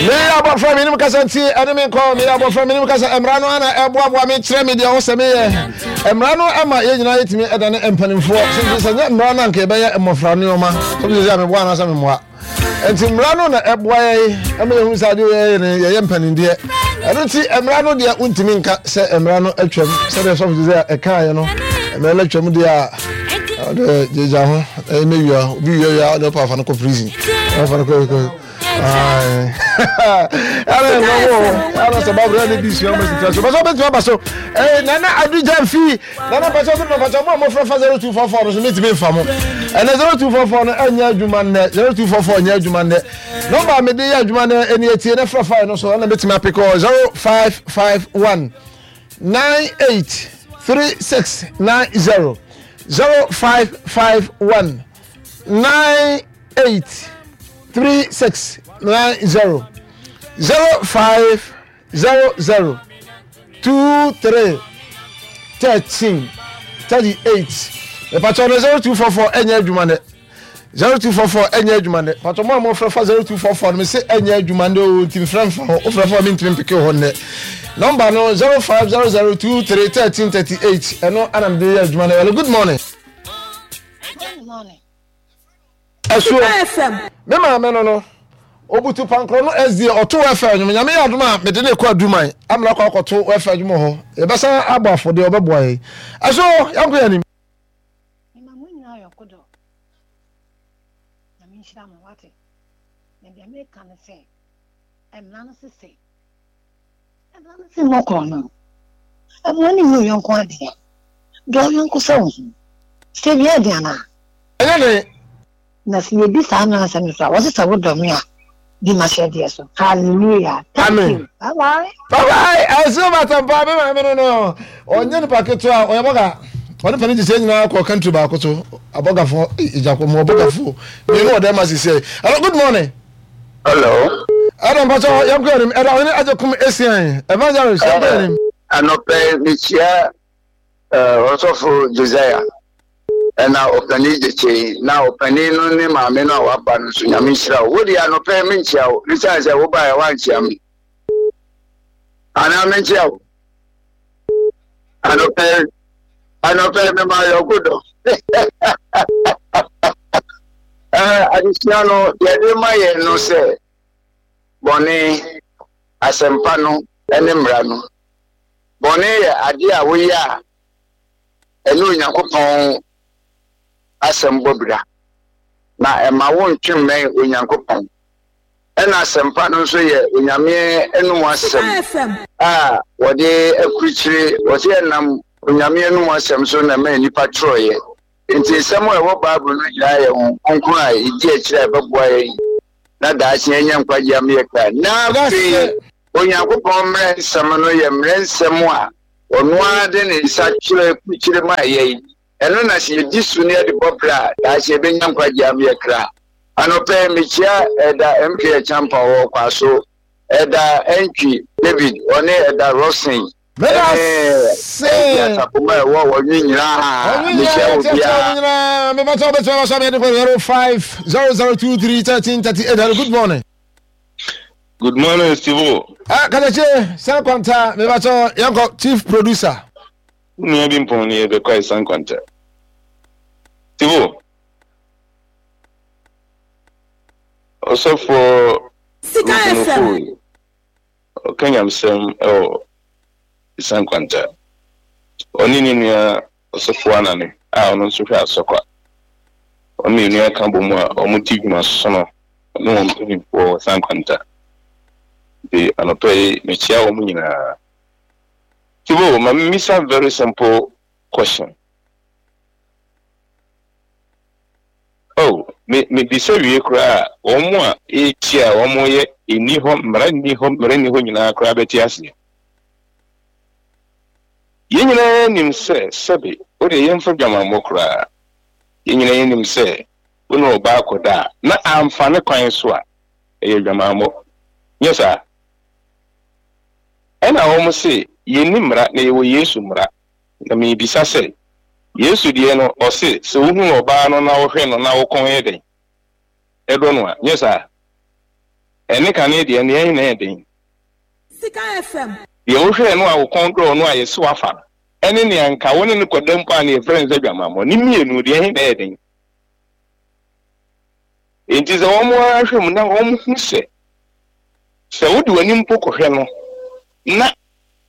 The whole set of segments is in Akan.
Meyɛ abɔfra menim kasa nti ɛne me nkɔ. Meyɛ abɔfra menim kasa. Mmara no ana ɛboaboa me kyerɛ me deɛ ɔsɛ meyɛ. Mmara no ɛma yɛn nyinaa yɛtumi ɛdane mpanimfoɔ. Sɛ sɛ nyɛ mmara no anka yɛbɛyɛ mmɔfra nneɛma. Sɛ sɛ sɛ meboa anaasɛ memmoa. Nti mmara no na ɛboa yɛn ɛma yɛhu sɛ adeɛ yɛyɛ no yɛyɛ mpanimdeɛ. Ɛno nti mmara no deɛ wontumi nka sɛ mmara no atwam sɛdeɛ sɔfo te sɛ ɛkaeɛ no mmara no atwam deɛ a ɔde gyegya ho ɛmɛ wia obi wia wia ɔde ɔpa afa no kɔ prison ɔfa no kɔ kɔ ɛna ɛnɔwɔ ɛna sɛ babura ne bi sua mo si so bɛsɛ ɔbɛtumi aba so ɛɛ nana adugya fi nana pàṣẹ ɔsɛ pàṣẹ ɔmo a mo fɛ fa 0244 no so mi ti mi nfa mo ɛnɛ 0244 no ɛnyɛ adwuma nnɛ 0244 nyɛ adwuma nnɛ nɔmba a mi de yɛ adwuma nnɛ ɛni etie ne fɛ fa yɛ no so ɛna mi ti mi apekɔ 0551 98 3690 0551 98 3690 0500 23 13 38. Ìpàtọ́ no 0244 ɛnyɛ adwuma nɛ. 0244 ɛnyɛ adwuma nnɛ. Patɔ mo a mofrɛ fa 0244 no mese ɛnyɛ adwuma nnɛ o, nti mfrɛ mfa hɔ. Wofrɛ fa mentumi mpeke hɔ nnɛ. Nɔmba no 0500231338 ɛno ana mede yɛ adwuma no. Hello, good morning. Good morning. Ɛsoɔ me maame no no obutu pankorɔ no SDA ɔto wɛfɛ nnwom. Nyame yɛ adom a mede ne kɔ aduman amena kɔ akɔto wɛfɛ nnwom hɔ. Yɛbɛsan abɔ afɔdeɛ ɔbɛboa yɛn. Ɛso yɛnkɔ yɛn anim. Mema mo nyinaa ayɔnkodɔ. Nyame nhyira mo, wate? Na deɛ meka ne sɛ, mmara no se sɛ, mmara no se mmɔ korɔno, mmoa ne nyi wo yɔnko adeɛ, dɔ wo yɔnko sɛ wo ho. Sɛ wia de anaa? Ɛnyɛ den. Na sɛ yɛdi saa mmara nsɛm no so a, wɔse sɛ wodɔ me a, di m'ahyɛdeɛ so. Hallelujah. Thank Amen. you. Bye bye. Bye bye. Ɛsɛ batampa me maame no no. Ɔnyɛ nipa ketewa, ɔyɛ bɔga. Ɔne panin gyesɛ nyinaa kɔ country baako so. Abɔgafoɔ, egya kɔ mu abɔgafoɔ. Mmienu wɔ dɛm asisi yi. Hello, good morning. Hello. Ɛdɔ mpatsɔ yɛn kɔ yɛn nim. Ɛdɔ ɔhene agye kum esian. Evangelist yɛn kɔ yɛn nim. Anɔpɛ mekyia Ɔsɔfo Josiah ɛna ɔpanin Gyekye na ɔpanin no ne maame no a waba no nso Nyame nhyira wo. Wo deɛ anɔpɛ menkyia wo ɛsiane sɛ wobaeɛ woankyia me anaa menkyia wo anɔpɛ anɔpɛ mema yɔnko dɔ adesua no yɛde ma yɛn no sɛ bɔne asɛmpa no ne mmara no Bɔne yɛ ade a woyɛ a ɛne Onyankopɔn asɛm bɔ bira, na ɛma wontwe mmɛn Onyankopɔn. Ɛna asɛmpa no nso yɛ Onyame anom asɛm a wɔde akurukyire, wɔse ɛnam Onyame anom asɛm so na ɛma nnipa twerɛeɛ. Enti nsɛm a ɛwɔ Bible no nyinaa yɛ Honhom Kronkron a ɛdi akyire a ɛbɛboa yɛn na daakye yɛanya nkwagye ama yɛn kra. Na afei Onyankopɔn mmara nsɛm no yɛ mmara nsɛm a ɔno ara de ne nsa twerɛ kurukyire maa yɛn. Ɛno na sɛ yɛdi so na yɛde bɔ bra a, daakye yɛbɛnya nkwagyeɛ ama yɛn kra. Anɔpa yi, mekyia Ɛda MK Acheampong wɔ Ɔkwaso, Ɛda Antwi David, ɔne Ɛda Rockson, ɛne Ɛdi Asafo ma ɛwɔ Ɔnwe nyinaa. Mekyia obiara. Mebɛtɔ bɛtɔ bɛsɔ me de 05 0023 13 38. Good morning. Good morning, Steve. Ah, Katakyie, San Kwanta, mebatɔ yɛnkɔ chief producer. Wo nua bi mpɔn ni yɛbɛkɔ ayi San Kwanta. Steve. Ɔsɔfoɔ Sika Ruben FM. Ofori, ɔka nyamsɛm ɛwɔ San Kwanta. Ɔne ne nua Ɔsɔfo Anane a ɔno nso hwɛ Asɔkwa. Wɔn mmienu aka bɔ mu a wɔdi dwuma sono ne wɔn mpanimfoɔ wɔ Sankwanta. Nti anɔpa yi mekyia wɔn nyinaa. Tibo, ma memmisa very simple question. Oh, me mebisa wie koraa a, wɔn a ɛrekyia a wɔyɛ nni hɔ, mmara nni hɔ, mmara nni hɔ nyinaa koraa bɛte aseɛ. Yɛn nyinaa nim sɛ sɛbe, wo deɛ yɛmfa dwamammɔ koraa, yɛn nyinaa yɛnim sɛ wo ne ɔbaa kɔda a, na amfa ne kwan so a, ɛyɛ dwamammɔ. Nyɛ saa? Ɛna wɔn se yɛnni mmara na yɛwɔ Yesu mmara. Na merebisa sɛ, Yesu deɛ no, ɔse sɛ wohunu ɔbaa no na wohwɛ no na wo kɔn yɛ dɛn? Ɛdɔ no a, nyɛ saa? Ɛne kane deɛ no, deɛn na ɛyɛ den? Sika FM. Deɛ wohwɛɛ no a wo kɔn dɔɔ no a yɛse woafa no, ɛne nea anka wo ne no kɔda mpo a na yɛfrɛ no sɛ dwamammɔ, ne mmienu, deɛn na ɛyɛ den? Enti sɛ wɔn ara hwɛ mu na wɔhu sɛ, sɛ wode w'ani mpo kɔhwɛ no na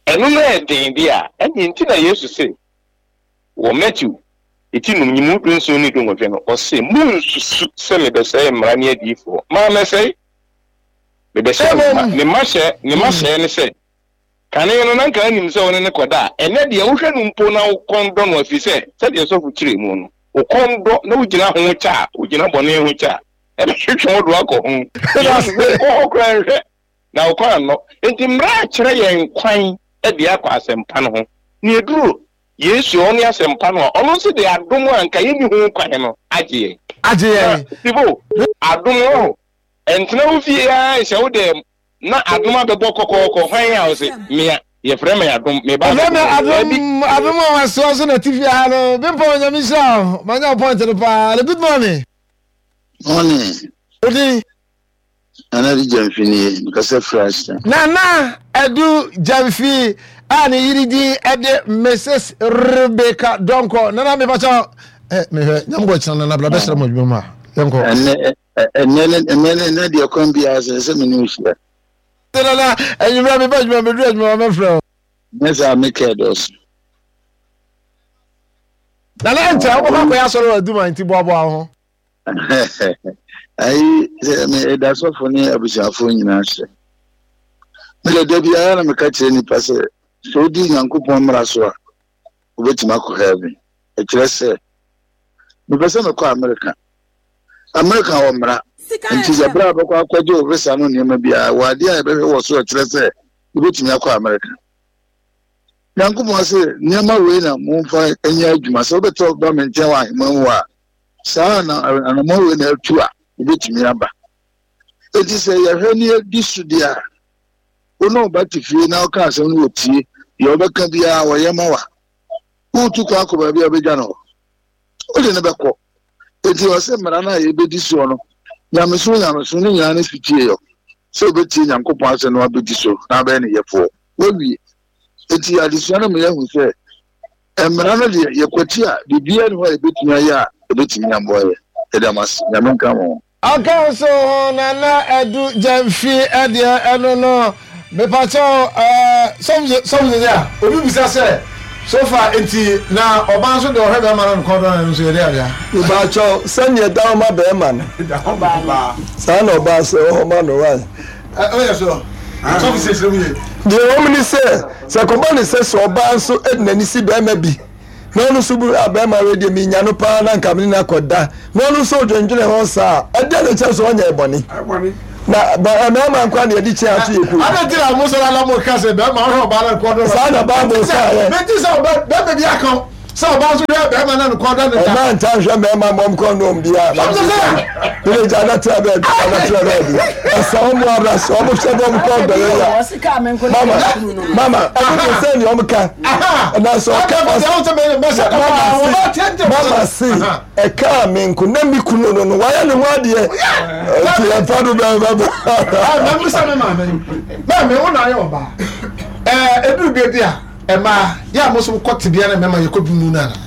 ɛno no yɛ den deɛ a, ɛnneɛ nti na Yesu se wɔ Mateo eti num nyimu dunson ne dunwɔtwe no, ɔse, Monnsusu sɛ mebɛsɛe mmara ne adiyifoɔ. Mammɛsɛe, mebɛhyɛɛ mo ma. Ne mahyɛ, ne mahyɛɛ ne sɛ, kane no na nka anim sɛ wo ne no kɔda a, ɛnnɛ deɛ wohwɛ no mpo na wo kɔn dɔ no, ɛfiri sɛ, sɛdeɛ sɔfo kyerɛɛ mu no, wo kɔn dɔ na wogyina ho kyɛ a, wogyina bɔne ho kyɛ a, ɛbɛtwetwe wo do akɔ ho. Yesu se, Nkɔ hɔ koraa nhwɛ, na wo kɔn annɔ. Enti mmara kyerɛ yɛn kwan de akɔ asɛmpa no ho. Na ɛduru Yesu a ɔne asɛmpa no a, ɔno nso de adom a anka yɛnni ho kwan no agye yɛn. Agye yɛn. Na, Sibo, adom wɔ hɔ. Ɛntena wo fie ara nhyɛ wo dɛm na adom abɛbɔ kɔkɔɔkɔ. Hwan a ɔse, Mea, yɛfrɛ me adom, meba Yɛfrɛ me abɛbɔ hɔ. adom, Daabi. adom a wasoa so na ti fie ha no. Bempɔn, Nyame nhyira wo. Manya wo point no paa. Good morning. Morning. Wo din? Nana Adu Gyamfi nie, mekasa firi Ashton. Nana Adu Gyamfi a ne yere din de Mrs. Rebecca Donkor. Nana mepakyɛ eh, mehwɛ nyam bɔ kyena nana bla bɛsrɛ mo adwuma mu a yɛnkɔ. Ɛnɛ ɛnɛ ɛnɛ ɛnɛ deɛ kwan biara sɛ sɛ me ne wo hyia. Nana anwummerɛ meba adwuma meduru adwuma ma mɛfrɛ wo. Nyɛ saa mekɛɛ dɔɔso. Nana ɛnkyɛ wobɛkɔ akɔyɛ asɔre wɔ aduma nti boaboa wo ho. Ayi sɛ meda sɔfo ne abusuafoɔ nyinaa ase. Mede da biara na meka kyerɛ nnipa sɛ sɛ wodi Nyankopɔn mmara so a wobɛtumi akɔ heaven. Ɛkyerɛ sɛ mepɛ sɛ mekɔ Amerika. Amerika wɔ mmara. Nti sɛ berɛ a bɛkɔ akɔgye wo visa no nneɛma biara wɔ adeɛ a yɛbɛhwɛ wɔ so ɛkyerɛ sɛ wobɛtumi akɔ Amerika. Nyankopɔn se nneɛma wei na momfa nyɛ adwuma sɛ wobɛtɔ ba me nkyɛn wɔ ahemman mu a Saa na anammɔn wei na atu a ebetumi aba. Enti sɛ yɛhwɛ ne yɛdi so deɛ a, wo ne wo ba te fie na woka asɛm no wɔtie, deɛ wobɛka biara wɔyɛ ma wa. Woretu kwan akɔ baabi a wobɛgya no hɔ, wode no bɛkɔ. Enti ɔsɛ mmara no a yɛbɛdi soɔ no, nyamesom nyamesom no nyinaa ne sotie yɔ, sɛ wobɛtie Nyankopɔn asɛm na wabɛdi so na abɛyɛ ne yɛfoɔ. Wawie. Enti adesua no ma yɛahu sɛ Mmara no deɛ, yɛkwati a, biribiara nni hɔ a yɛbɛtumi ayɛ a ɛbɛtumi aboa yɛn. Yɛda mo ase. Nyame nka mo ho. Ɔka nso ho Nana Adu Gyamfi deɛ ɛno no mepakyɛw ɛɛ sɔfo sɔfo sɛ a obi bisa sɛ so far nti na ɔbaa nso deɛ ɔhwɛ bɛrima no nkɔn dɔ no ɛno nso yɛde adea. Mepakyɛw sɛnea ɛda hɔ ma bɛrima no saa na ɔbaa sɛ ɛwɔ hɔ ma no wai. Ɔyɛ so sɔfo sɛ kyerɛ mu yie. Deɛ ɛwɔ mu ne sɛ, sɛ ɛkɔba no sɛ sɛ ɔbaa nso de n'ani si barima bi na ɔno nso bu a barima wei deɛ menya no paa na nka mene no akɔda na ɔno nso odwendwene ho saa a, ɛdeɛ na ɛkyerɛ sɛ ɔnyɛ bɔne. Na mmarima nkwa na yɛde kyɛn ato yɛ kuo. Adɛn nti na mo sɔrɔ na mo ka sɛ bɛrima ɔhwɛ ɔbaa na nkɔ dɔ. Saa na Bible ka yɛ. Meti sɛ bɛrima bi aka sɛ ɔbaa nso hwɛ bɛrima na nkɔ dɔ ne da. Ɔbaa nta nhwɛ mmarima mmɔm kɔ nnɔm biara. Mene gya na tena baabi na tena baabi. Ɛsɛ wɔn abra sɛ wɔn hwɛ bɔm kɔ dɔ yɛ ya. Mama mama ɛno de sɛ nea wɔn ka. Na sɛ ɔka mama se ɛkaa me nko na me kunu no no wayɛ ne ho adeɛ. Nti ɛmfa do bɛn bɛn. Mɛmisa me maame maame wo na ayɛ ɔbaa ɛɛ eduru baabi a. Ɛmaa yɛ a mo nso mokɔ tebea na mmarima yɛkɔ bi mu no anaa?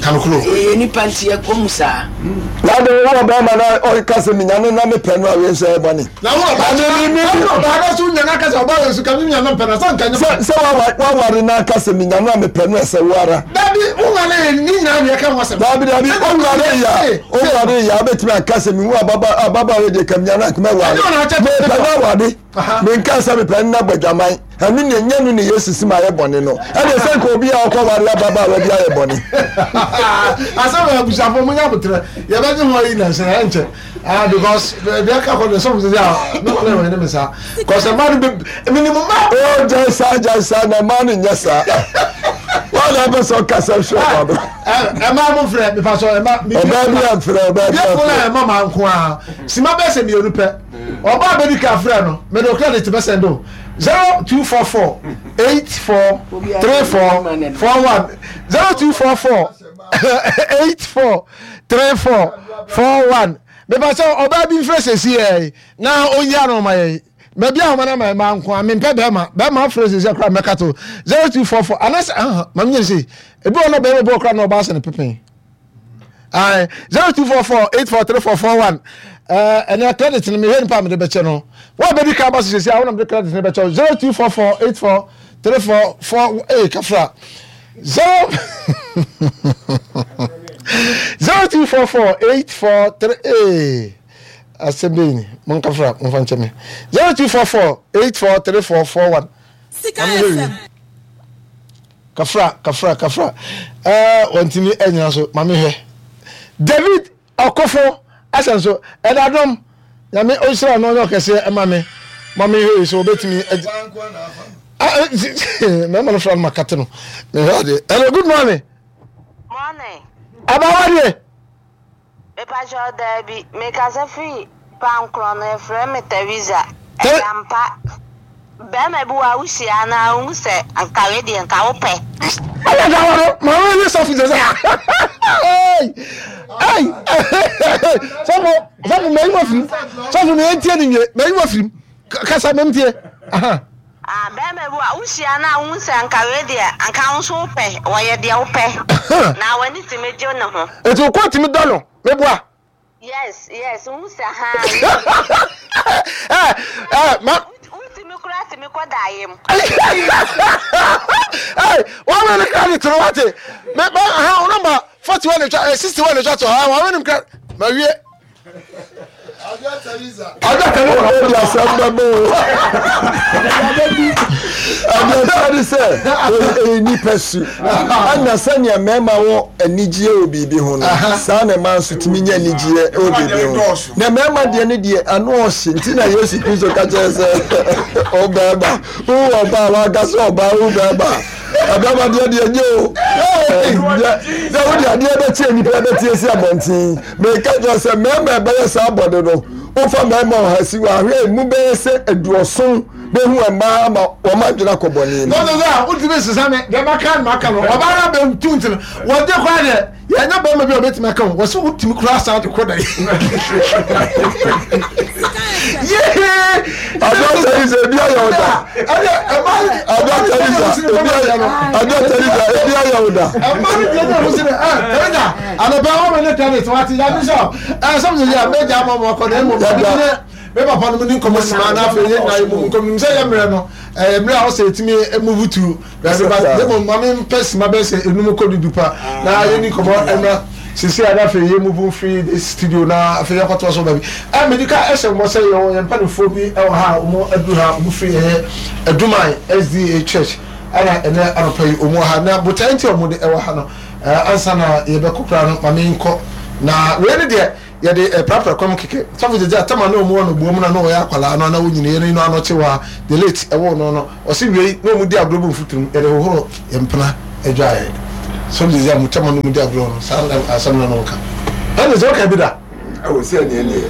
Ka nokorɛ o. Yɛyɛ nnipa nti yɛkɔ mu saa. Na de wo ɔbarima na ɔka sɛ menya no na mepɛ no a wei nso ɛyɛ bɔne. Na wo ɔbaa na wo ɔbaa na so nya no aka sɛ ɔbaa wei nso ka menya no mpɛ no sɛ nka nyɛ bɔne. Sɛ waware no aka sɛ menya no a mepɛ no ɛsɛ wo ara. Dabi wonware ne nyinaa na yɛka ho asɛm. Dabi dabi wonware yɛ a wonware yɛ a wobɛtumi aka sɛ mehu ababaawa wei deɛ ka menya no a nka mɛware. Mepɛ no aware. Menkaa sɛ mepɛ no na bɔ adwaman. Ɛno ne ɛnyɛ no ne Yesu si ma ayɛ bɔne no. Ɛne sɛ nka obi a ɔkɔware ababaawa bi ayɛ bɔne. Asɛm a abusuafoɔ mo nya abotrɛ yɛbɛgye ho ayi nansa ɛnkyɛ ah because baabi aka kɔ deɛ sɔfo sɛ a ne wɔn ɛwɔ ne me saa kɔsɛ mmaa no bɛ minimu mmaa. O gyae saa gyae saa na mmaa no nyɛ saa. Wɔn na ɛpɛ sɛ ɔkasa hwɛ ɔba no. Ɛmaa mo mfrɛ mepa sɔ ɛma. Ɔbaa bi amfrɛ ɔbaa bi amfrɛ. Yɛ fɔlɔ ɛma maa nko ara sima bɛyɛ sɛ mmienu pɛ. Ɔbaa bɛdi kan frɛ no, mede wo credit bɛsɛnde wo. 0244 84 34 41 0244 84 34 41. Mepa sɛ ɔbaa bi mfrɛ sɛsi yɛ na ɔnyi ano ma yɛ. Baabi a ahoma no ama mmaa nko a mempɛ bɛrima. Bɛrima afrɛ sɛsi akora mɛka to 0244 anasɛ aha ma menyɛ sei. Ebi wɔ no bɛrima bi wɔ kora na ɔbaa sɛ ne pepen. Ae 0244 843441 ɛnɛ credit no mehwɛ nipa a mede bɛkyɛ no. Wo a bɛdi kan ba so sɛsi a wo na mede credit no bɛkyɛ 0244 8434 ee kafra 0 0244 843 ee asɛm bɛyi ni monkafra momfa nkyɛ me 0244 843441 Sika FM. Kafra kafra kafra ɛɛ wɔntumi ɛnyina so maame hwɛ David Ɔkofo asɛm so ɛda dɔm nyame ɔnhyira no ɔnyɛ ɔkɛseɛ ɛma me maame hwɛ yi so ɔbɛtumi ɛdi mɛma no fra no makate no mehwɛ adeɛ. Hello, good morning. Morning. Abawa deɛ. Mepakyɛw daabi, mekasa firi Pankorɔ no, yɛfrɛ me Theresa. Ɛyɛ ampa, bɛrima bi wɔ a wohyia no a wohu sɛ nka wei deɛ nka wopɛ. Ɛyɛ nka wɔ no, maame ne sɔfo sɛ sɛ. Ei, sɔfo, sɔfo mɛyi wɔ firim, sɔfo mɛ ntie ne nwie, mɛyi wɔ firim, kasa mɛ ntie. Aha. Ah, bɛrima bi wɔ a wohyia no a wohu sɛ nka wei deɛ nka wo nso wopɛ, wɔyɛ deɛ wopɛ, na w'ani tumi gye ne ho. Nti wo kɔn tumi dɔ no, meboa? Yes, yes, wohu sɛ haa wei deɛ. Eh, eh, ma. Wotumi koraa tumi kɔ daeɛ mu. Hey, wɔn wɛn ne kra ne toro wate. Me, ma, ha, wo nɔmba 41 na etwa, eh, 61 na etwa to, ha, wɔn wɛn ne kra, ma wie. Ɔde asɛm bɛbɔ o. Ɛdeɛ ɛteɛ ne sɛ ɛyɛ nnipa su. Ɛna sɛnea mmarima wɔ anigyeɛ wɔ biribi ho no, saa na mmaa nso tumi nya anigyeɛ wɔ biribi ho. Na mmarima deɛ no deɛ ano ɔhye nti na Yesu Kristo ka kyerɛ sɛ ɔbarima wowu ɔbaa wanka sɛ ɔbaa wu barima. Ɛbɛma deɛ deɛ nyɛ o. Nyɛ sɛ wode adeɛ bɛkyɛ nnipa bɛte asi abɔnten. Meka kyerɛ sɛ mmarima ɛbɛyɛ saa bɔne no, wofa mmarima ɔha si hɔ a, hwɛ emu bɛyɛ sɛ aduɔson bɛhu mmaa ma wɔn adwene akɔ bɔne mu. Lɔtɔ sɛ wotumi sesa me deɛ maka no maka no ɔbaa no abɛtu nti no wɔde koraa deɛ yɛnyɛ bɛrima bi a ɔbɛtumi aka ho wɔsɛ wotumi koraa san de kɔ da yi. Adwa Teresa ebi ayɛ wo da. Adwa Teresa ebi ayɛ Adwa Teresa ebi ayɛ wo da. Ɛma no deɛ ne ho sɛ ɛ Teresa anɔpɛ wɔn mi ne tennis wate ya bishop ɛ sɔm sɛ yɛ mɛgya ama wɔn akɔ na emu mi ne me papa no mu ni nkɔmɔ sima na afei yɛ nyinaa yɛ mu nkɔmɔ nim sɛ yɛ mmerɛ no ɛyɛ mmerɛ a ɔsɛ etimi move to baabi ba ne mu maame mpɛ sima bɛyɛ sɛ enum kɔ dudu pa na yɛ ni nkɔmɔ ɛmra sisi a na afei yɛ move free this studio na afei yɛ kɔtɔ so baabi ɛ medi ka ɛhyɛ mbɔ sɛ yɛ wɔ yɛn mpanimfoɔ bi ɛwɔ ha a wɔn aduru ha wɔn firi ɛyɛ Aduman SDA church ɛna ɛnɛ anɔpa yi wɔn wɔ ha na botae nti a wɔn de ɛwɔ ha no. Eh, ansa na yɛbɛkɔ koraa no, ma menkɔ. Na wei ne deɛ yɛde eh, prapra kwam kɛkɛ. Sɔfo gyegye atama na ɔmu wɔ no boom na na ɔyɛ akwadaa no na ɔnyini yɛn no ano kye wa the late ɛwɔ no no ɔse wei na ɔmu di agorɔ bu mfuturum yɛde hohoro yɛn mpena adwaeɛ. Sɔfo gyegye a mu tama na ɔmu di agorɔ no saa asɛm no na ɔka. Ɛne sɛ ɔka bi da. Ɛwɔ sɛ ɛneɛ neɛ.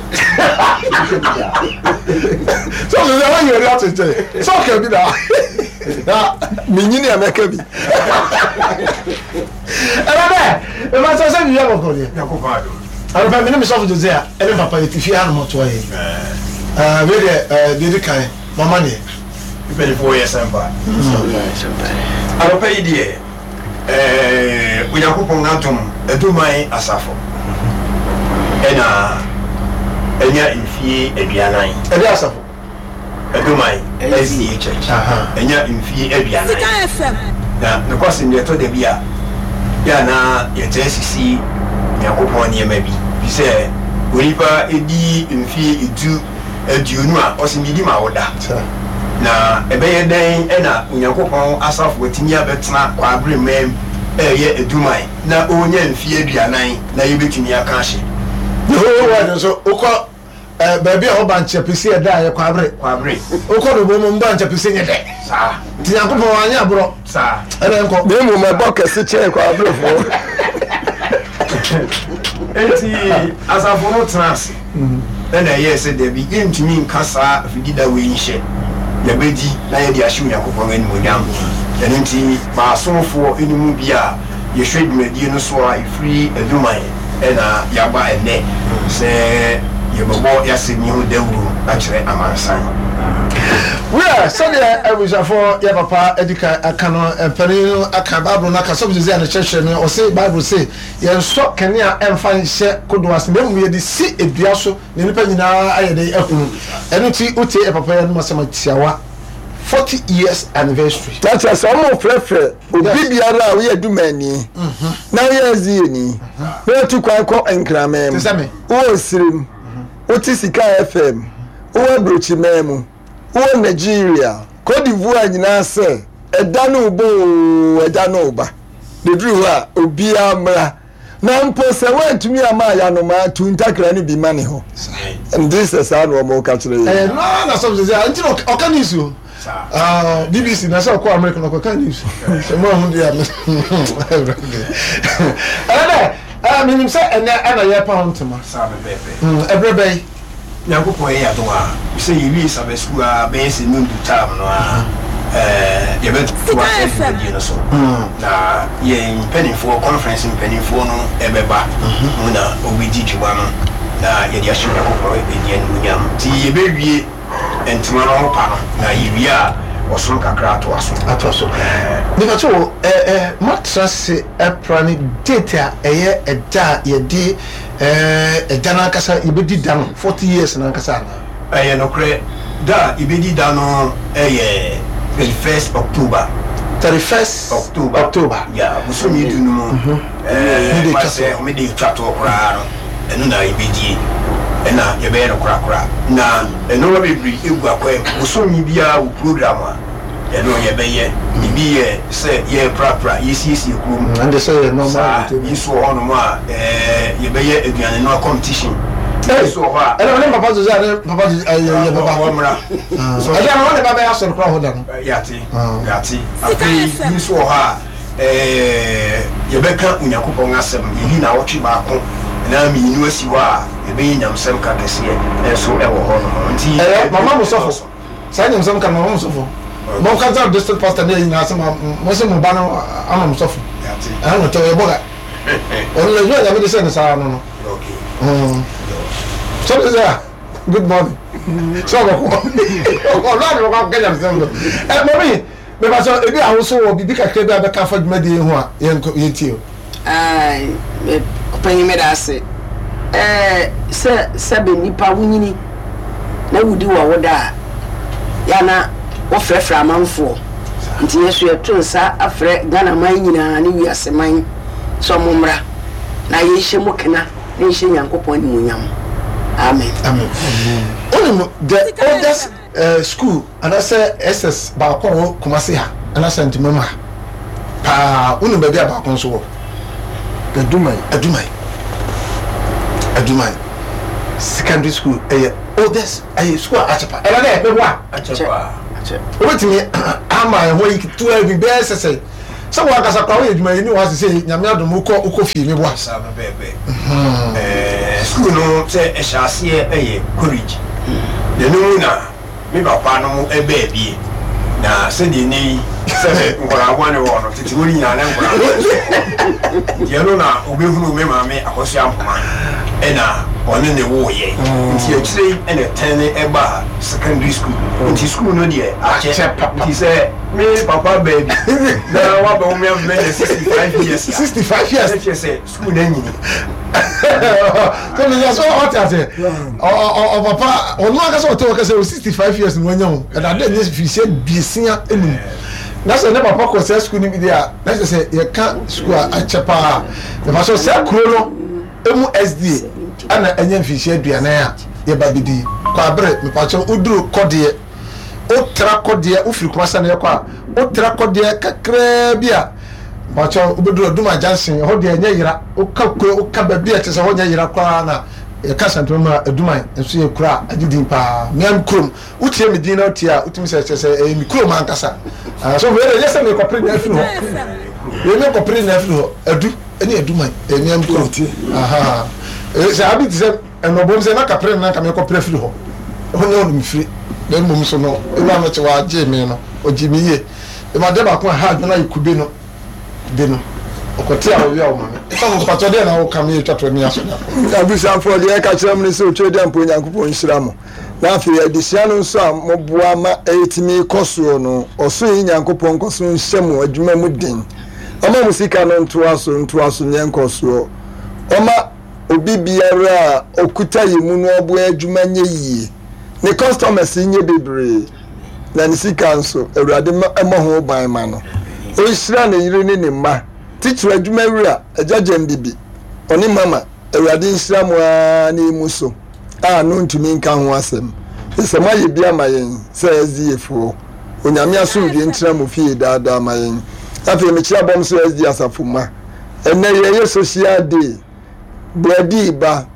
Sɛ ɔsɛ sɛ wɔyɛ ɛde ato nkyɛn sɛ ɔka bi da. Na menyini a mɛka bi. Ɛna dɛ ɛma sɛ sɛ biribi abɔkɔ deɛ. Anɔpa me ne me sɔfo Jose a ɛne papa yɛte fie hanom ɔtoa yɛ. Wei deɛ deɛ ɛdi kan mama neɛ. Mpanimfoɔ yɛ sɛmpa. Anɔpa yi deɛ. Ɛɛ Onyankopɔn adom Aduman Asafo ɛna anya mfie aduanan. Ɛde asafo? Aduman SDA Church anya mfie aduanan. Na nokwasɛm ni ɛtɔ da bi a yɛ a na yɛtaa sisi Nyankopɔn nneɛma bi. Fi sɛ onipa di mfie du. 20 a, ɔse medi ma wo da. Na ɛbɛyɛ dɛn na Onyankopɔn asafo atumi abɛtena kwaabere man mu reyɛ aduman na ɔrenya mfeɛ 40 na yɛbɛtumi aka ahye? The whole world nso wokɔ eh, baabi a hɔ bankyɛ pese ɛda a yɛ kwaabere. Kwaabere. Wokɔ no bom mu bankyɛ pese nyɛ dɛ. Saa. Nti Nyankopɔn wanyɛ aborɔ. Saa. Ɛna nkɔ. Na mmom ɛbɔ kɛse kyɛn kwaaberefoɔ. Enti asafo no tena ase. Ɛnna ɛyɛɛ sɛ, Dabi, yɛrentumi nka saa afidida wei nhyɛ. Yɛbɛdi na yɛde ahyɛ Onyankopɔn animuonyam. Ɛno nti, ma asomfoɔ no mu bi a yɛhwɛ dwumadie no so a ɛfiri Aduman na yɛaba ɛnnɛ sɛ yɛbɛbɔ y'asɛm yi ho dawuro akyerɛ amansan. Wiɛ, sɛdeɛ abusuafoɔ yɛ papa adi kan aka no, mpanin no aka, Bible no aka, Sɔfo Josiah no kyerɛkyerɛ me, ɔse Bible se yɛnsɔ kanea mfa nhyɛ kodoɔ ase na mmom yɛde si dua so na nnipa nyinaa ayɛ dɛn ahunu. Ɛno nti wotie yɛ papa yi anom asɛm a tiawa, 40 years anniversary. Na kyerɛ sɛ wɔrefrɛfrɛ obi biara a woyɛ Dumani na woyɛ SDAni na watu kwan kɔ Nkraman mu, wowɔ Osirim, wote Sika FM, wowɔ Aburokyiman mu, wowɔ Nigeria, Cote d'Ivoire nyinaa sɛ ɛda no reba oo, ɛda no reba. Na ɛduru hɔ a, obiara mmra. Na mpo sɛ woantumi amma ayanomaa, tu ntakra no bi ma ne hɔ. Nte sɛ saa na wɔka kyerɛ yɛn. Ɛyɛ no ara na sɔfo sɛ sɛ nti na ɔka news o. Ah, BBC na sɛ ɔkɔ America na ɔkɔka news. Sɛ mo ahu deɛ a ɛnɛ dɛ eh, menim sɛ ɛnɛ ɛna yɛrepa ho ntoma. Saa pɛpɛɛpɛ. Ɛberɛ bɛyi. Nyankopɔn yɛ adom a, sɛ yɛwie Sabbath school a bɛyɛ sɛ nondu time no a, yɛbɛtoa saa dwumadie no so. Na yɛn mpaninfoɔ, conference mpaninfoɔ no bɛba mu na wɔbɛdi dwuma no na yɛde ahyɛ Onyankopɔn din animuonyam. Nti yɛbɛwie ntoma no ho pa no, na yɛwie a ɔsom kakra atoa so. Atoa so. Mepakyɛ wo, moatra ase pra ne date a ɛyɛ ɛda a yɛde Ɛɛ, ɛda no ankasa, yɛbɛdi da no, 40 years no ankasa anaa? Ɛyɛ nokorɛ, da a yɛbɛdi da no yɛ 31st October. 31st October. October. Yeah, bosome du no mu, ɛɛ, ma sɛ homeda ɛtwa toɔ koraa no, ɛno na yɛbɛdie, ɛna yɛbɛyɛ no korakora. Na nnoɔma bebree gu akwan mu, bosome biara wɔ program a. Ɛno yɛbɛyɛ. Ebi yɛ sɛ yɛreprapra, yɛsiesie kurom. Ɛnde sɛ yɛ normal Saa. Bi nso wɔ hɔnom a, ɛɛ, yɛbɛyɛ aduane noa competition. Bi nso wɔ hɔ a. Ɛnna ɔne papa Jose ne papa Jose ɛyɛ yɛ bɛba. Wɔmmra. Ɛdeɛ no wɔne ba bɛyɛ asɔre koraa hɔ da no. Yɛate, yɛate. Afei bi nso wɔ hɔ a, ɛɛ, yɛbɛka Onyankopɔn asɛm. Yɛyi nnawɔtwe baako anaa mmienu asi hɔ a, yɛbɛyɛ nyamesɛm ka kɛseɛ nso wɔ hɔnom. Nti. Ɛyɛ mama mo sɔfo. Saa nyamsɛm ka no ma mo sɔfo. Mo ka kyerɛ district pastor ne nyinaa sɛ mo se mo ba no ama mo sɔfo. Ɛna no tɛ ɔyɛ bɔga. Ɔno na adwuma nyame de sɛ ne saa no no. Sɔfo sɛ a good morning. Sɛ ɔbɛkɔ. Ɔno a na ɔbɛkɔ akɔka nyamsɛm no. Ɛ mɔmi. Mepakyɛw, ebia wo nso wɔ biribi kakra bi a bɛka afa dwumadi yi ho a, yɛnkɔ, yɛntie o. Ae, me panyin meda ase. Ɛɛ, sɛ sɛbe nnipa wonyini na wodi w'awoda a, yɛ a na wɔfrɛfrɛ amanfoɔ. Nti yɛn nso yɛto nsa frɛ Ghana man nyinaa ne wiase man sɛ wɔmmra na yɛnhyɛ mu kena na yɛnhyɛ Nyankopɔn animuonyam. Amen. Amen. Wonim, the oldest Eh, school anaasɛ SS baako a ɛwɔ Kumasi ha anaasɛ Ntomam ha paa, wonim baabi a baako nso wɔ? Aduman. Aduman. Aduman secondary school ɛyɛ oldest ɛyɛ school a akyɛ pa. Ɛna dɛ meboa. Akyɛ paa. Wobɛtumi ama ɛho ayi ketewa bi bɛyɛ sɛ sɛ sɛ wo ankasa koraa woyɛ adwuma yi ne wɔ ase sɛ nyame adom wokɔ wokɔ fie meboa. Saa pɛpɛɛpɛ. Ɛɛ sukuu no sɛ ɛhyɛ aseɛ ɛyɛ college. Na ɛno mu na me papa no mo ɛbaa bie. Na sɛdeɛ nnɛ yi sɛ nkwadaa bɔne wɔ hɔ no tete hɔ no nyinaa na nkwadaa bɔne nso wɔ hɔ. Nti ɛno na ɔbɛhunuu me maame Akosua Ampoma ɛna ɔne ne woeɛ. Nti akyire yi ɛna ɛtɛne ɛbaa secondary school. Nti sukuu no deɛ akyɛ. Nti sɛ me papa baa bi na wabɛwo me ama manya 65 years a, 65 years. Na kyerɛ sɛ sukuu no anyini. So me sɛ ɔte ase ɔpapa ɔno ankasa ɔte hɔ kɛsɛ o 65 years na wanya o ɛna ade nyɛ firihyia biesia enum na sɛ ne papa kɔ sɛ sukuu no bi deɛ a na kyerɛ sɛ yɛka sukuu a akyɛ paa mefa so sɛ kuro no emu SDA ɛna ɛnyɛ mfirihyia aduanan a yɛba bɛdi kwabere mepakyɛ woduru kɔdeɛ Wotra kɔ deɛ, wofiri Kumasi na yɛkɔ a, wotra kɔ deɛ kakraa bi a, mpakyɛw wobɛduru Aduma Junction, ɛhɔ deɛ ɛnyɛ yera. Woka kuro, woka baabi a ɛte sɛ hɔ nyɛ yera koraa na yɛka Asantuma mu a, Aduman nso yɛ kuro a agye din paa. Mea me kurom, wotie me din na wotie a, wotumi sɛ kyerɛ sɛ ɛyɛ me kurom ankasa. Ah, so wei deɛ ɛnyɛ sɛ merekɔpere nea afiri hɔ. Wei menkɔpere nea afiri hɔ. Adu ne Aduman, ɛyɛ mea me kurom. Aha. Sɛ abi te sɛ Ɛna ɔbom sɛ, na kapere no na anka merekɔpere afiri hɔ. Ɛhɔ nyɛ hɔ na mefiri, na mmom so no, Ewura no kye wagyee me no, ɔgyee me yie. Ema adeɛ baako a ɛha adwene ayɛ kube no, kube no. Ɔkɔte a ɔwia wo maame. Sɔfo mpakyɛ deɛ na woka me atwa to ani aso da. Abusuafoɔ deɛ ɛka kyerɛ mo ne sɛ otwa di ampa Onyankopɔn nhyira mo. Na afei adesua no nso a moboa ma ɛtumi kɔ soɔ no, ɔsoro yi Nyankopɔn nkɔ so nhyɛ mo adwuma mu den. Ɔma mo sika no ntoa so ntoa so nyɛ nkɔsoɔ. Ɔma obi biara a ɔkuta yɛ mu no ɔboa adwuma nyɛ yie. Ne customers nyɛ bebree. Na ne sika nso, Awurade mmɔ ho ban ma no. Ɔnhyira ne yere ne ne mma. Titiriw adwuma wura, Agya Gyambibi, ɔne Mama, Awurade nhyira mo ara na emu so a no ntumi nka ho asɛm. Efisɛ moayɛ bi ama yɛn sɛ SDA foɔ. Onyame asomdwie ntena mo fie daa daa ma yɛn. Afei mekyia bɔm so SDA asafo mma. Ɛnnɛ yɛyɛ social day. Brɛdii ba.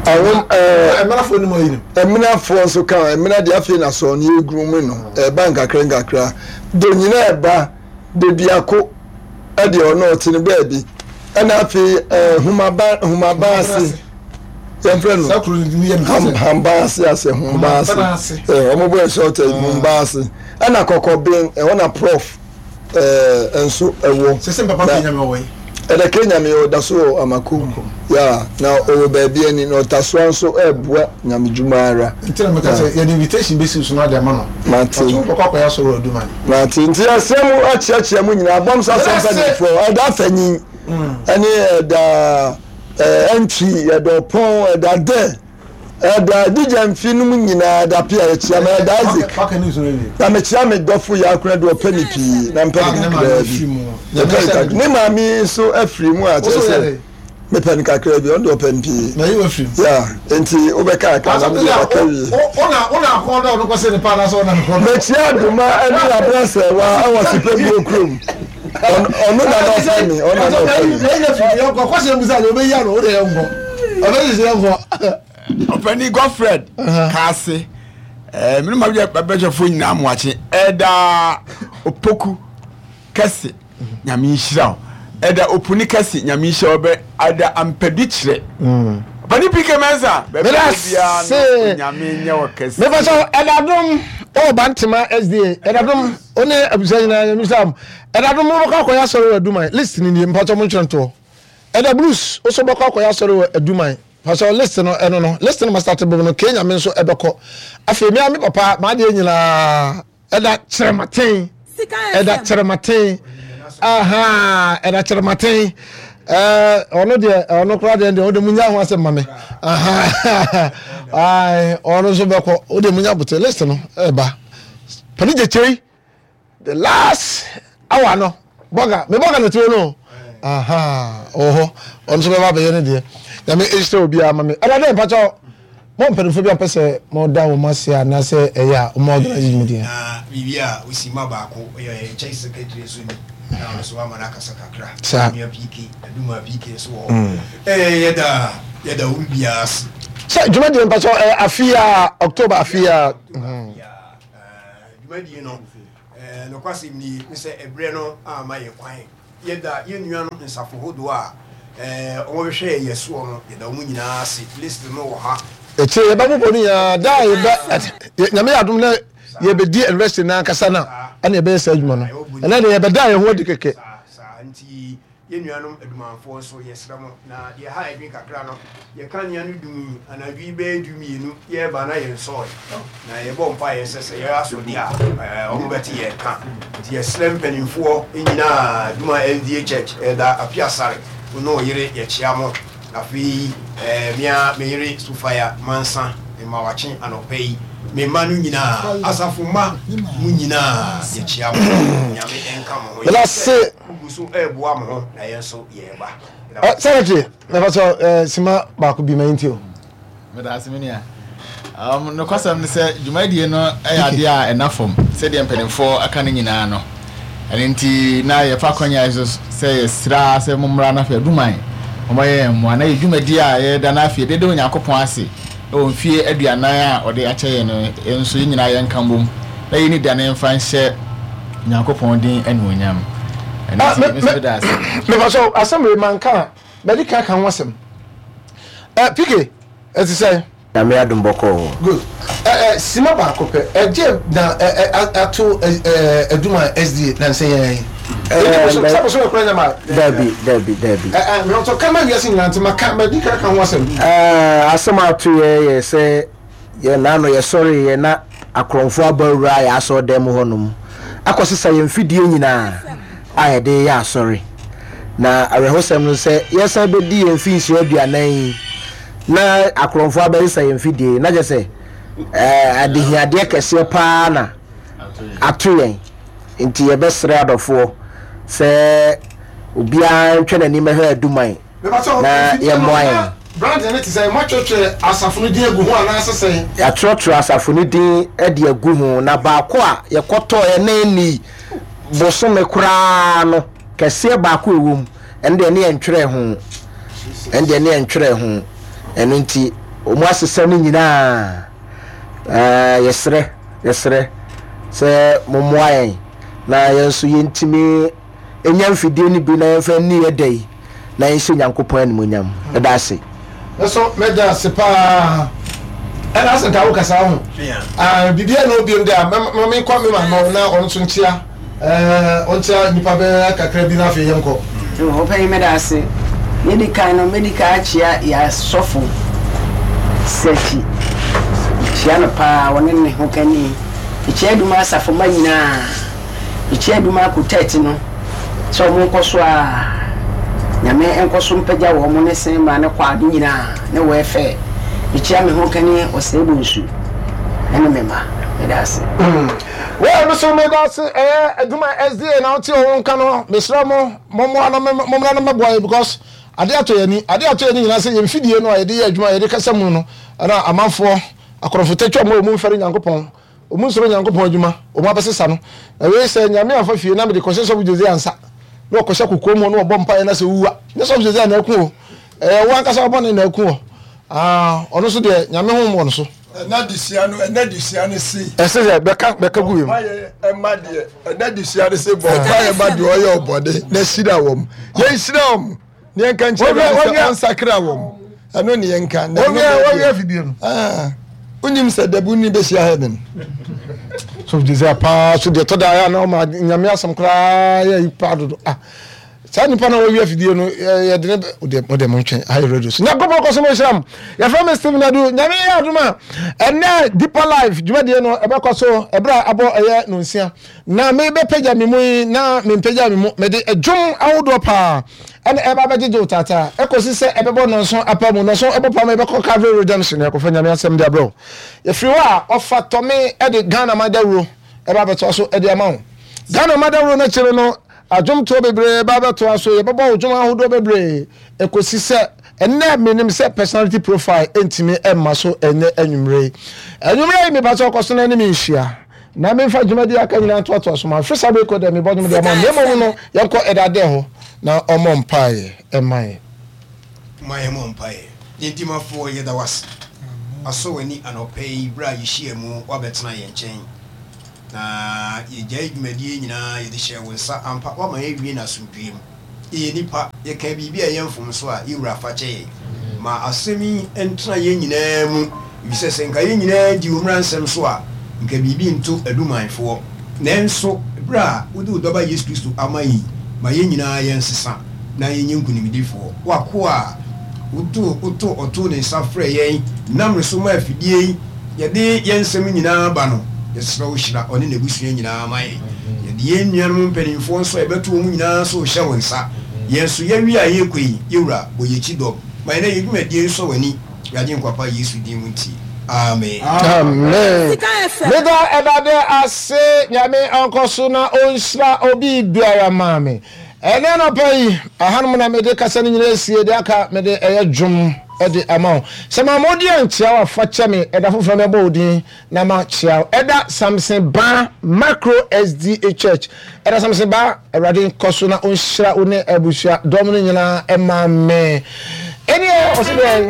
Ahom ɛɛ. Ɛmenafoɔ nim ɔyi no. Ɛmenafoɔ nso ka ɛmena deɛ afei na sɔɔ no yɛguru mu no ɛba nkakra nkakra. Do nyina ɛba de biako ɛdeɛ ɔno ɔte no baabi ɛna afei ɛɛ humaba humaba ase yɛmfrɛ no hamba ase ase humba ase ɛɛ wɔn bɔ ɛsɛ ɔtɛ humba ase ɛna kɔkɔben ɛhɔ na prof. ɛɛ nso ɛwɔ. Sese papa kɛ nyame ɔwɔ yi. Ɛdɛ kɛ nyame ɔda so wɔ amakom ya na ɔwɔ baabi ani na ɔtasoa nso ɛɛboa nyame dwuma ara. Nti na meka sɛ yɛde invitation bɛsi so na ade ama no. Mate. Ɔso wobɛkɔ akɔyɛ asɔre wɔ Aduman. Mate nti yɛsrɛ mo akyeakyea mo nyinaa bɔm so asɛm mpanimfoɔ ɛda afanyin ɛne ɛda ɛɛ ɛntwi ɛda ɔpɔn ɛda dɛ. Ɛda Adija mfe no mu nyinaa dape a yɛkyia me Ɛda Isaac na mekyia me dɔfo Yaakuna de ɔpɛ me pii na mpɛ no kakraa bi mepɛ no kakra ne maame nso afiri mu a kyerɛ sɛ mepɛ no kakraa bi ɔno de ɔpɛ no pii ya nti wobɛka aka na mede aka wie mekyia Adoma ne Abrasɛwa ɛwɔ Sepɛbuo kurom ɔno na na ɔpɛ me ɔno na na ɔpɛ me. Ɔpɛni Godfred Kaase ɛɛ mene ma bɛhwɛfoɔ nyinaa moakye ɛda opoku kɛse nyame nhyira wo ɛda opuni kɛse nyame nhyira wo bɛ ɛda ampadu kyerɛ ɔpɛni PK Mensah baabi a biara no nyame nyɛ wɔ kɛse. Mefa sɛ ɛda dom ɔwɔ Bantama SDA ɛda dom Wo ne abusua nyinaa nyame nhyira mo. Ɛda no mobɛkɔ akɔyɛ asɔre wɔ Aduman. List no nie, mpakyɛw montwerɛ ntoɔ. Ɛda Bruce, wo nso wobɛkɔ akɔyɛ asɔre wɔ Aduman. Mpakyɛw list no ɛno no. List no ma start bom no, K Nyame nso ɛbɛkɔ. Afei me ara me papa, m'adeɛ nyinaa, ɛda Kyerɛmaten. Ɛda Kyerɛmaten. Ahaa, ɛda Kyerɛmaten. Ɛɛ, ɔno deɛ, ɔno koraa deɛ deɛ, ɔde munya ho asɛm ma me. Ahaa, ɔno nso bɛkɔ. Wode munya bote list no ɛba. Pani gyekyei the last hour no bɔga me bɔga na tuo no aha ɔwɔ hɔ ɔno nso bɛba abɛyɛ ne deɛ nyame nhyira obiara ma me ɛna dɛ mpakyɛ mo mpanimfoɔ bi ampɛ sɛ mo da wɔn ase anaasɛ ɛyɛ a wɔn organize dwumadie na biribi a osi ma baako ɔyɛ yɛn church secretary nso ni na ɔno nso wama no akasa kakra saa nua PK aduma PK nso wɔ hɔ ɛɛ yɛda yɛda obi biara ase sɛ dwumadie mpakyɛ ɛyɛ afe a October afe a Dwumadie no, nokwasɛm nie, ne sɛ ɛberɛ no amma yɛn kwan. Yɛda yɛn nuanom nsafo hodoɔ a wɔbɛhwɛɛ yɛn soɔ no, yɛda wɔn nyinaa ase. List no wɔ ha. Akyire yɛbɛbobɔ no nyinaa da a yɛbɛ Nyame yɛ adom na yɛbɛdi anniversary no ankasa no a ɛna yɛbɛyɛ saa adwuma no. Ɛnɛ deɛ yɛbɛda yɛn ho adi kɛkɛ. Saa, saa, nti Yɛn nuanom adumanfoɔ nso, yɛsrɛ mo, na deɛ ɛha adwene kakra no, yɛn kanea no dumii anadwo yi bɛyɛ dumienu, yɛreba na yɛnsɔɔe, na yɛbɔ mpaeɛ sɛ sɛ yɛyɛ aso deɛ a, wɔbɛte yɛn nka. Nti yɛsrɛ mpanimfoɔ nyinaa, Duma SDA Church, Elder Appiah Asare, wo ne wo yere, yɛkyea mo. Afei me ara me yere Sofia Mansa, mema wakye anɔpa yi, me mma no nyinaa, asafo mma mo nyinaa, yɛkyea mo. Nyame nka mo ho. Yɛnim sɛ Mugu so reboa mo ho na yɛn nso yɛreba. Secretary, mɛfa sɛ sima baako bi ma yɛntie o. Meda ase me nua. Um, nokwasɛm ne sɛ dwumadie no yɛ adeɛ a ɛna fam sɛdeɛ mpanimfoɔ aka no nyinaa no. Ɛno nti na yɛfa akwanya yi so sɛ yɛsrɛ sɛ mommra na afei aduman wɔmmɛyɛ yɛn mmoa na yɛ dwumadie a yɛda no afei yɛde da Onyankopɔn ase wɔ mfie aduanan a ɔde akyɛ yɛn no, yɛn nso yɛn nyinaa yɛnka mbom na yɛnni da no mfa nhyɛ Nyankopɔn din anuonyam. Ɛno Ah, nti, me, me nso me, meda ase. mefa so asɛm wei manka a, madi kan aka ho asɛm. Eh, PK, ɛte sɛn? Nyame adom bɔkɔɔ. Good. Eh, eh, sima baako pɛ, ɛgye na eh, eh, ato eh, eh, adwuma SDA nansa yi ara yi. Sɛ bosome kora nyɛ ma. Dabi, dabi, dabi. Mewɔtɔ ka ma wiase nyinaa nti maka madi ka ka ho asɛm. Asɛm ato yɛ yɛ sɛ yɛ naano yɛsɔre yɛ na akorɔmfoɔ aba awura yɛ asɔre dan mu hɔnom akɔsesa yɛn mfidie nyinaa a yɛde yɛ asɔre. Na awerɛhosɛm no sɛ yɛsan bɛdi yɛn mfinhyia 40 yi na akorɔmfoɔ abɛsesa yɛn mfidie na kyerɛ sɛ adehiadeɛ kɛseɛ paa na ato yɛn. Nti yɛbɛsrɛ adɔfoɔ sɛ obiara ntwɛ n'ani mmɛhwɛ Aduman na yɛmmoa yɛn. Branding no te sɛn? Moatwerɛtwerɛ asafo no din agu ho anaasɛ sɛn? Yɛatwerɛtwerɛ asafo no din de agu ho, na baako a yɛkɔtɔeɛ na ɛnnii bosome koraa no, kɛseɛ baako a ɛwɔ mu, ɛno deɛ ne yɛntwerɛɛ ho. Ɛno deɛ ne yɛntwerɛɛ ho. Ɛno nti, wɔasesa no nyinaa. Ɛɛ, yɛsrɛ, yɛsrɛ sɛ mommoa yɛn na yɛn nso yɛntumi nya mfidie no bi na yɛmfa nni yɛ da yi na yɛnhyɛ Nyankopɔn animuonyam. Meda ase. Me nso meda ase paa. Ɛna asɛ nka wo kasa ho. Ah, biribiara na obiam de a, ma menkɔ me maame hɔ na ɔno nso nkyea. Ɛɛ, ɔnkyea nnipa bɛyɛ kakra bi na afei yɛnkɔ. Ɔpanyin meda ase. Nea edi kan no, medi kan akyea yɛn asɔfo Sɛkyi. Mekyea no paa, ɔne ne hokani. Mekyea Adum asafo mma nyinaa. Mekyea Adum Quartet no sɛ wɔn nkɔ so ara, Nyame nkɔ so mpagya wɔn ne Senma ne kwaa no nyinaa ne wɛɛfɛɛ. Mekyea me hokani Ɔsɛe Bonsu ne me mma. Meda ase. Well, me so meda ase ɛyɛ adwuma SDA na wote wɔn nka no mesrɛ mo mommoa no mommra no mmɛboa yɛ because ade atɔ yɛn ani ade atɔ yɛn ani nyinaa sɛ yɛn mfidie no a yɛde yɛ adwuma yɛde kasa mu no ɛna amanfoɔ akorɔmfo tatwa mu a wɔn mfɛre Nyankopɔn wɔn nsoro Nyankopɔn adwuma wɔn abɛsesa no na wei sɛ Nyame amfa fie na mede kɔhyɛ sɔfo Jose ansa na ɔkɔhyɛ kokoam hɔ na ɔbɔ mpaeɛ na sɛ owua nyɛ sɔfo Jose na aku o ɛyɛ wo ankasa wobɔne na aku wɔ ah ɔno so deɛ Nyame honhom wɔ no so. Ɛna adesua no, ɛna adesua no se. Ɛsɛ sɛ bɛka bɛka gu wiem. Mpaeɛ ɛma deɛ, ɛna adesua no se bɔ mpaeɛ ma deɛ ɔyɛ ɔbɔne na hyira wɔn. Yɛn hyira wɔn na yɛn ka nkyerɛ wɔn sɛ ɔnsakra wɔn. Ɛno ne yɛn ka. Na ɛno wɔwia afidie no. Wonim sɛ dabi wonni bɛhyia heaven. So desire paa so deɛ tɔda ayɛ na ɔma nyame asɛm koraa yɛ yi paa dodo ah. Saa nipa na wɔwi afidie no yɛde ne wodeɛ modeɛ montwɛn ayɛ radio so. Nyankopɔn kɔ so mo nhyira mo. Yɛfrɛ me Stephen Adu. Nyame yɛ adom a ɛnɛ Deeper Life dwumadie no ɛbɛkɔ so ɛberɛ a abɔ ɛyɛ nonsia. Na mebɛpagya me mu yi na mempagya me mu mede dwom ahodoɔ paa ɛna ɛba bɛgyegye wo taataa ɛkɔsi sɛ ɛbɛbɔ nɔnson apa mu. Nɔnson ɛbɔ paa ma yɛbɛkɔ Calvary Redemption yɛakɔfa Nyame asɛm de abrɛ wo. Yɛfiri hɔ a ɔfa tɔme ɛde Ghana man dawuro ɛba abɛtoa so ɛde ama wo. Ghana man dawuro no akyire no Adwomtoɔ bebree ba bɛtoa so, yɛbɛbɔ wo dwom ahodoɔ bebree ɛkɔsi sɛ ɛnnɛ menim sɛ personality profile ntumi mma so ɛnnɛ anwummerɛ yi. Anwummerɛ yi mepa sɛ ɔkɔ so na ne me nhyia na memfa dwumadie aka nyinaa ntoatoa so ma mfiri saa bere kɔ dɛ mebɔ dwom de ama na mmom no yɛnkɔ ɛda dɛ hɔ na ɔmmɔ mpaeɛ ɛma yɛn. Ma yɛmmɔ mpaeɛ. Yɛn Dimafoɔ, yɛda wo ase. Asɔ w'ani anɔpa yi berɛ a yɛhyiaa mu woabɛtena yɛn nkyɛn. Na yɛgyae dwumadie nyinaa, yɛde hyɛɛ wo nsa. Ampa, woama yɛawie no asomdwoeɛ mu. Yɛyɛ nnipa, yɛkaa biribi a ɛyɛ mfomso a, yɛn Wura fa kyɛ yɛn. Ma asɛm yi ntena yɛn nyinaa mu, efisɛ sɛ nka yɛn nyinaa di wo mmara nsɛm so a, nka biribi nto adumanfoɔ. Nanso berɛ a wode wo Dɔba Yesu Kristo ama yɛn yi, ma yɛn nyinaa yɛnsesa na yɛnyɛ nkonimdifoɔ. W'akoa a wotoo wotoo ɔtoo ne nsa frɛɛ yɛn nam ne so maa afidie yi, Yɛde yɛn nsɛm nyinaa ba no, yɛsrɛ wo hyira ɔne n'abusua nyinaa ma yɛn. Yɛde yɛn nuanom mpanimfoɔ nso a yɛbɛto wɔn nyinaa nso rehyɛ wo nsa. Yɛn nso, yɛawie a yɛrekɔ yi, yɛn Wura, bɔ yɛn akyi dɔm. Ma yɛn na yɛn dwumadie nsɔ w'ani, yɛn Agyenkwa pa Yesu din mu nti, amen. Amen. Meda Awurade ase Nyame ɔnkɔ so na ɔnhyira obi biara maa me. Ɛnɛ anɔpa yi, ahanom na mede kasa no nyinaa asie, deɛ aka mede ɛyɛ dwom de ama wo. Sɛ mamma wo din ankyea wo a, fa kyɛ me, ɛda foforɔ mɛbɔ wo din na makyea wo. Ɛda Samson Baa Macro SDA Church. Ɛda Samson Baa, Awurade nkɔ so na ɔnhyira wo ne abusua dɔm no nyinaa ma me. Ɛneɛ, ɔse dɛn?